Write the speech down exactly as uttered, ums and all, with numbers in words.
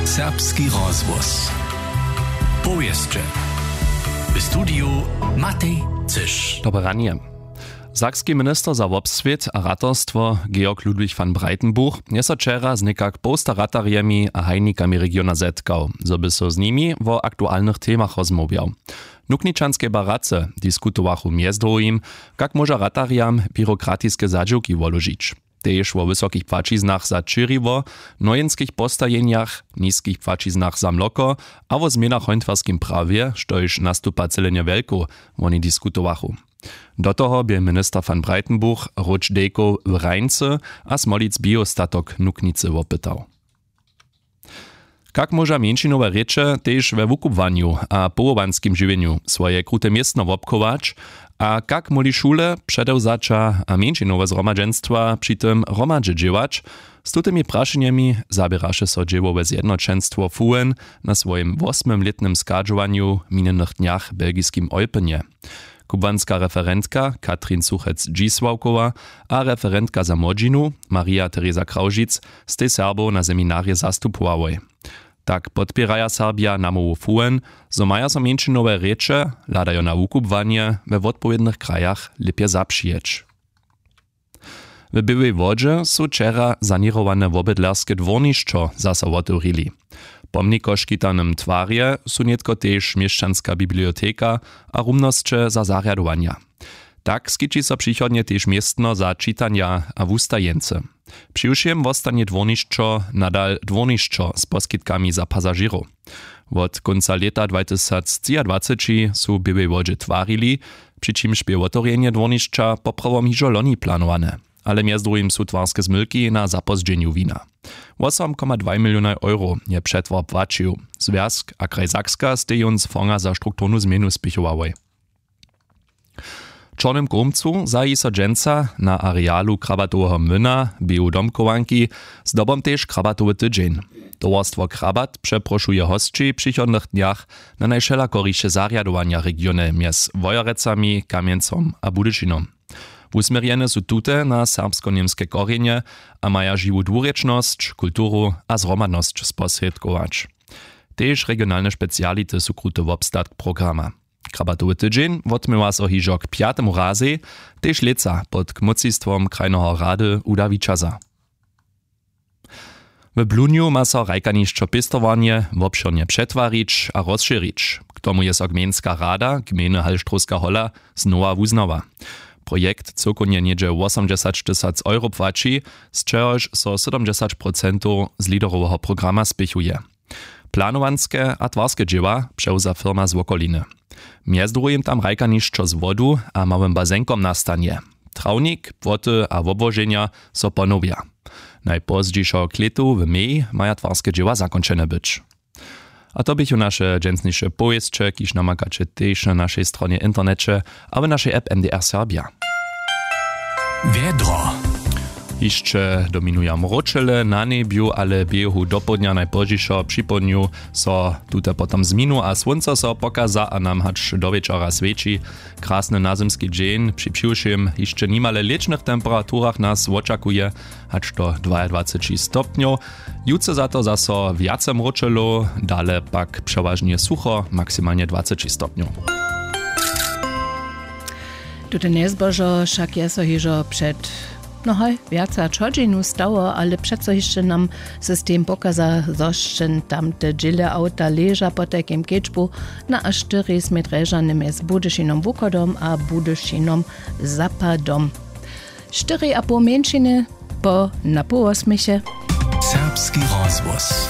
Serbski rozhłos. Powěsće. W studiju Matej Cyš. Dobre ranje. Sakski minister za wobswět a ratarstwo Georg Ludwig van Breitenbuch je so wčera z někak połsta ratarjemi a hajnikami regiona zetkał, zo by so z nimi wo aktualnych temach rozmołwjał. W nukničanskej barace diskutowachu mjez druhim, kak móža ratarjam běrokratiske zadźěłki woložić, tež wo wysokich płaćiznach za ćěriwo, nojinskich postajenjach, niskich płaćiznach za mloko a wo změnach w hontwarskim prawje, štož nastupa cyle njewjelkow. Woni diskutowachu. Do toho bě minister van Breitenbuch róč dejkow w Rajncy a smolic biostatok nuknicy wopytał. Kak móža mjeńšinowe rěče tež we wukubłanju a powołanskim žiwjenju swoje krute městno wobchować? A kak móhli šule, předewzaća a mjeńšinowe zhromadźenstwa při tym hromadźe dźěłać? Z tutymi prašenjemi zaběraše so dźěłowe zjednoćenstwo fuen na swojim wosmymlětnym schadźowanju w minjenych dnjach w belgiskim Olpynje. Kubłanska referentka Katrin Suchec-Dźisławkowa a referentka za młodźinu Maria Teresa Krawžic stej Serbow na seminarje zastupowałoj. Tak podpěraja Serbja namołwu fuen, zo maja so mjeńšinowe rěče, hladajo na wukubłanje, we wotpowědnych krajach lěpje zapřijeć. W Běłej Wodźe su wčera saněrowane wobydlerske dwórnišćo zaso wotewrili. W pomnikoškitanym twarje su nětko tež měšćanska biblioteka a rumnosće za zarjadowanja. Tak skići so přichodnje tež městno za čitanja a wustajeńcy. Přiwšěm wostanje dwórnišćo nadal dwórnišćo z poskitkami za pasažěrow. Wot kónca lěta dwatysactřiadwaceći su w Běłej Wodźe twarili, při čimž bě wotewrjenje dwórnišća poprawom hižo loni planowane. Ale mjez druhim su twarske zmylki na zapózdźenju wina. Wosom koma dwaj milionaj euro je přetwar płaćił. Zwjazk a kraj Sakska stej jón z fonga za strukturnu změnu spěchowałoj. W Čornym Kołmcu zahi so dźensa na arealu krabatoweho młyna w běhu domchowanki zdobom tež krabatowy tydźeń. Towarstwo Krabat přeprošuje hosći w přichodnych dnjach na najwšelakoriše zarjadowanja w regionje mjez Wojerecami, Kamjencom a Budyšinom. Wusměrjene su tute na serbsko-němske korjenje a maja žiwu dwurěčnosć, kulturu a zhromadnosć sposrědkować. Tež regionalne speciality su kruty wobstatk programa. Krabatowy tydźeń wotměła so hižo k pjatemu razej, tež lětsa pod kmócistwom krajneho rady Uda Wićaza. W Blunju ma so hrajkanišćo pěstowarnje wobšěrnje přetwarić a rozšěrić. K tomu je so gmejnska rada gmejny Halštrowska hola znowa wuznała. Projekt cyłkownje něhdźe wosomdźesać tysac euro płaći, z čehož so sydomdźesać procentow z leaderoweho programa spěchuje. Planowanske a twarske dźěła přewza firma z wokoliny. Mjez druhim tam hrajkanišćo z wodu a małym bazenkom nastanje. Trawnik, płoty a wobłoženja so ponowja. Najpozdźišo k lětu w mej maja twarske dźěła zakónčene być. A to běchu naše dźensniše powěsće, kiž namakaće tež na našej stronje w interneće a w našej app M D R Serbja. Wjedro. Hišće dominuja mróčele na njebju, ale běhu dopołdnja najpozdźišo připołdnju so tute potom zminu a słónco so pokaza a nam hač do wječora swjeći. Krasny nazymski dźeń při přiwšěm hišće nimale lěćnych temperaturach nas wočakuje, hač do dwajadwaceći stopnjow. Jutře za to zaso wjace mróčelow, dale pak přewažnje sucho, maksimalnje dwaceći stopnjow. Tute njezbožo wšak je so hižo před, no haj, wjace hač hodźinu stało, ale přeco hišće nam system pokaza, zo sće tam te dźěle awta leža. Potajkim kedźbu na a štyri smě drježane mjez Budyšinom wuchodom a Budyšinom zapadom. Štyri a poł mjeńšiny po na połosměche. Serbski rozhłos.